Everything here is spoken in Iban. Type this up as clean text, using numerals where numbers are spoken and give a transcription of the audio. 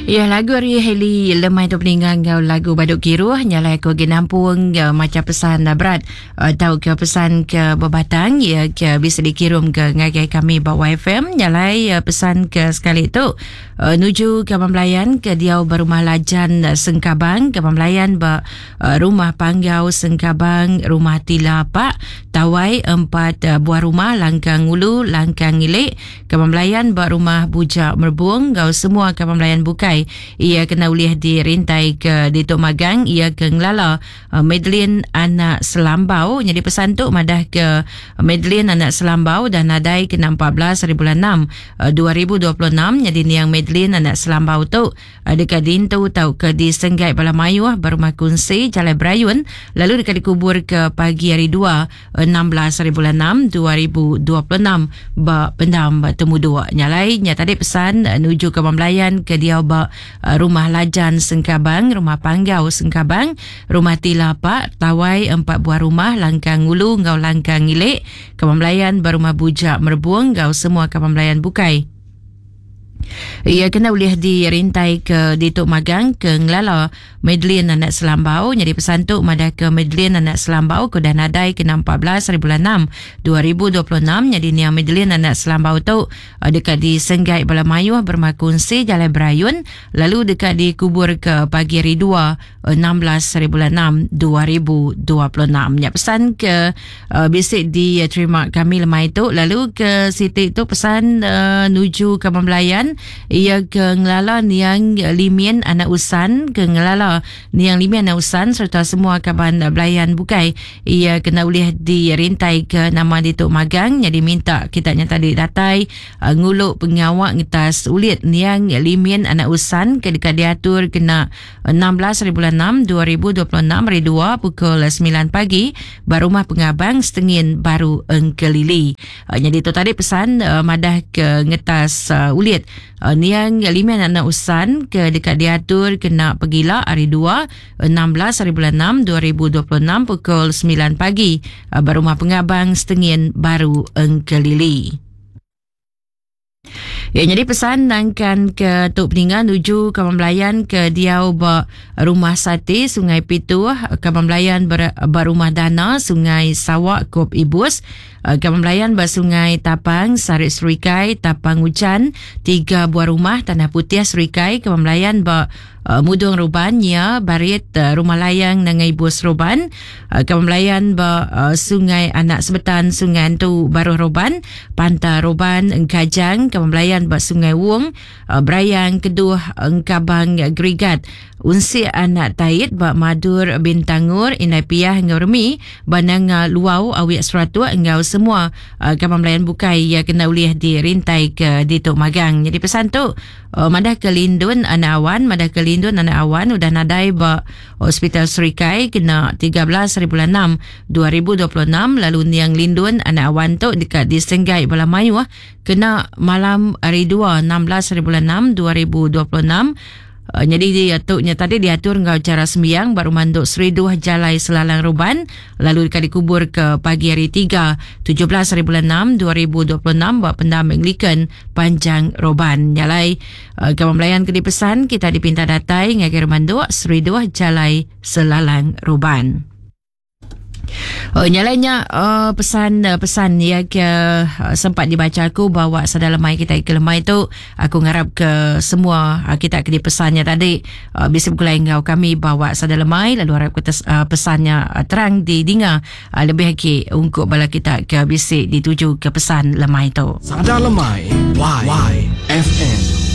Ya lagu ari Hailey lemai tu peninga enggau lagu Badu Kiruh nyalai aku agi nampung uh, macha pesan uh, berat uh, tau ke pesan ke bebatang ya ke bisa dikirum ke ngagai kami ba YFM nyalai uh, pesan ke sekali tu uh, nuju ke Belayan ke diau ba rumah Lajan uh, Sengkabang ke Belayan ba uh, rumah Panggau Sengkabang rumah Tila Pak Tawai empat uh, buah rumah Langkang Ulu Langkang Ngilik Kaban belayan ba rumah Bujak Merbung enggau semua kaban belayan bukai iya kena ulih dirintai ke ditu magang iya ke ngelala Madeline anak Selambau nyadi pesan tu madah ke Madeline anak Selambau dah nadai kena 14 hari bulan 6 2026 nyadi niang Madeline anak Selambau tu deka diintu tauka disenggai bala mayuh ba rumah kunsi Jalai Berayun lalu deka dikuburka pagi hari Dua, 16 hari bulan 6 2026 ba Pendam Temuduk. Nya alai nya tadi pesan nuju ke Belayan ke diau ba Rumah Lajan Sengkabang, Rumah Panggau Sengkabang, Rumah Tila Pak, Tawai empat buah rumah Langkang Ngulu enggau Langkang Ngilik, Kaban Belayan ba Rumah Bujak Merebung enggau semua kaban belayan bukai. Iya kena ulih dirintai ke ditu magang ke ngelala Madeline anak Selambau nyadi pesan tu madah ke Madeline anak Selambau ke udah nadai kena 14 hari bulan 6 2026 nyadi niang Madeline anak Selambau tu eh, deka disenggai bala mayuh berumah kunsi Jalai Berayun lalu deka dikubur ke pagi hari 2 16 hari bulan 6 2026. Nya pesan ke uh, bisi diterima kami lemai tu lalu ke siti tu pesan uh, nuju ke Belayan ia ke ngelala niang Limin anak Usan ke ngelala niang Limin anak Usan serta semua kaban Belayan bukai ia kena ulih dirintai ke nama ditu magang jadi minta kita nya tadi datai ngulu pengawa ngetas ulit niang Limin anak Usan ke deka diatur kena 16 hari bulan 6 2026 hari 2 pukul 9 pagi ba rumah pengabang Setengin Baru Engkelili. Uh, jadi tu tadi pesan uh, madah ke ngetas uh, ulit uh, niang lima anak usan ke dekat diatur kena pegila hari 2 16 hari bulan 6 2026 pukul 9 pagi uh, ba rumah pengabang Setengin Baru Engkelili. Ya, jadi pesan nangkan ke tu peninga nuju kaban belayan ke diau ba rumah Sati Sungai Pituh, kaban belayan ber, ba rumah Dana Sungai Sawak Kop Ibus, eh, kaban belayan ba Sungai Tapang Sarit Serikai Tapang Ujan, tiga buah rumah Tanah Putih Serikai, kaban belayan ba Uh, Mudung Ruban nya barit uh, Rumah Layang Nanga Ibus Ruban uh, Kaban Belayan ba uh, Sungai Anak Sebetan Sungai Antu Baruh Ruban Panta Ruban Engkajang Kaban Belayan ba Sungai Wong uh, Berayang Keduh Engkabang Gerigat Unsik Anak Tait ba Madur Bintangur Indai Piah enggau Remi ba Nanga Luau Awik Seratuk enggau semua uh, kaban belayan bukai iya kena ulih dirintai ke ditu magang. Jadi pesan tu Oh, madah ke Lindun anak awan, madah ke Lindun anak awan udah nadai ba Hospital Serikai kena 13 hari bulan 6 2026 lalu niang Lindun anak awan tu deka disenggai bala mayuh kena malam hari 2 16 hari bulan 6 2026 Uh, nyadi dia tu nya tadi diatur enggau cara sembiang ba rumah Nduk Seriduh Jalai Selalang Ruban lalu deka dikubur ke pagi hari 3 17 hari bulan 6 2026 ba Pendam Anglican Panjang Roban. Nya alai uh, kaban belayan ke dipesan kita dipinta datai ngagai rumah Nduk Seriduh Jalai Selalang Roban. Oh, nya alai nya uh, pesan uh, pesan ya ke uh, sempat dibaca aku bawa sada lemai kita ke lemai tu aku ngarap ke semua uh, kita ke dipesannya tadi uh, bisa bergulai enggau kami bawa sada lemai lalu harap kita uh, pesannya uh, terang didinga Lebih agi ungkup bala kita ke bisi dituju ke pesan lemai tu. Sada Lemai Y F M.